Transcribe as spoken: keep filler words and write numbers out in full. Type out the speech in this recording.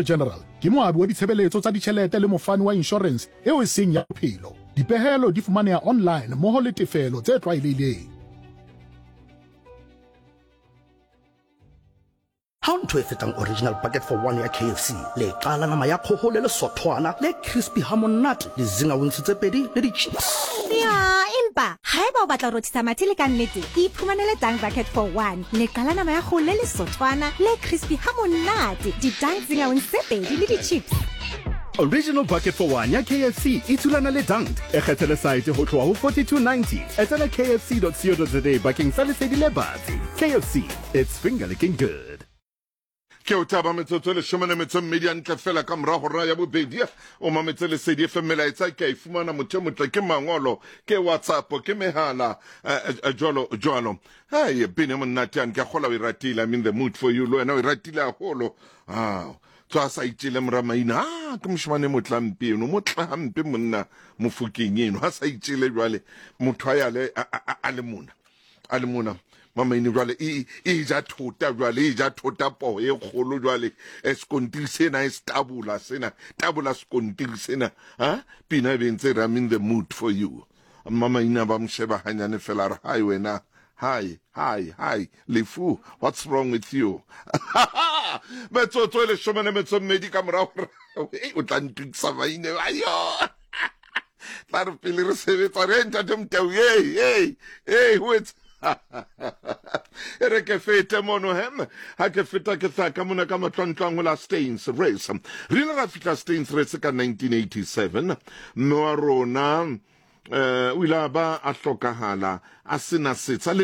General ke moabi wa ditshebeletso tsa ditjhelete le mofani wa inshorense eo e seng ya bophelo. Dipehelo di fumaneha online mmoho le tefelo tse tlwaelehileng. Ha ho ntho e fetang original bucket for one ya K F C. Leqa la nama ya kgoho le lesothwana le crispy ha monate, di-zinger wings tse pedi le di-chips. Ya, empa haeba o batla ho rothisa mathe le ka nnete, iphumanele Dunk Bucket for One. Leqa la nama ya kgoho le lesothwana le crispy ha monate, di-Dunk Zinger Wings tse pedi le di-chips. Original Bucket for One ya K F C e thulana le Dunked. E kgethele saete ho tloha ho forty-two ninety. Etela K F C dot co dot za bakeng sa lesedi le batsi. K F C, it's finger licking good. Ke o thaba metsotso e leshome le metso e mmedi hantle fela ka mora hora ya bobedi. O mametse Lesedi F M, melaetsa ke a e fumana motho e motle, ke mangolo, ke WhatsApp, ke mehala, eh, eh, jwalo jwalo. Hai, pina e monate yane, ke a kgolwa o e ratile. I'm in the mood for you. Le wena o e ratile haholo. Ah, tswa a sa itjele mora maina. Ah, ke moshemane e motle hampe eno, motle hampe monna Mofokeng eno. Ha sa itjele jwale, motho a ya le, a, a, a, a le mona. A le mona. Mamaine jwale, e, e ja thota jwale, e ja thota poho e kgolo jwale. E sekontiri sena, e se tabola sena, tabola sekontiri sena. Ha? Pina e be ntse re, I'm in the mood for you. Mamaine ba mo sheba hanyane fela, a re, hi wena, hi, hi, hi, lefu, what's wrong with you? Metsotso e leshome le metso e mmedi ka morao hore, ei, o tla ntukisa maine, ayo. Tla re pele re sebetsa, re, ntate Motau, hey, hey, hey, ho etsa. E re ke fete mono hem, ha ke feta ke tla ka mona ka matlwantlwang ho la Stains Race. Re ile ra fihla Stains Race ka nineteen eighty-seven. Mme wa rona, eh, o ile a ba a hlokahala a sena setsha le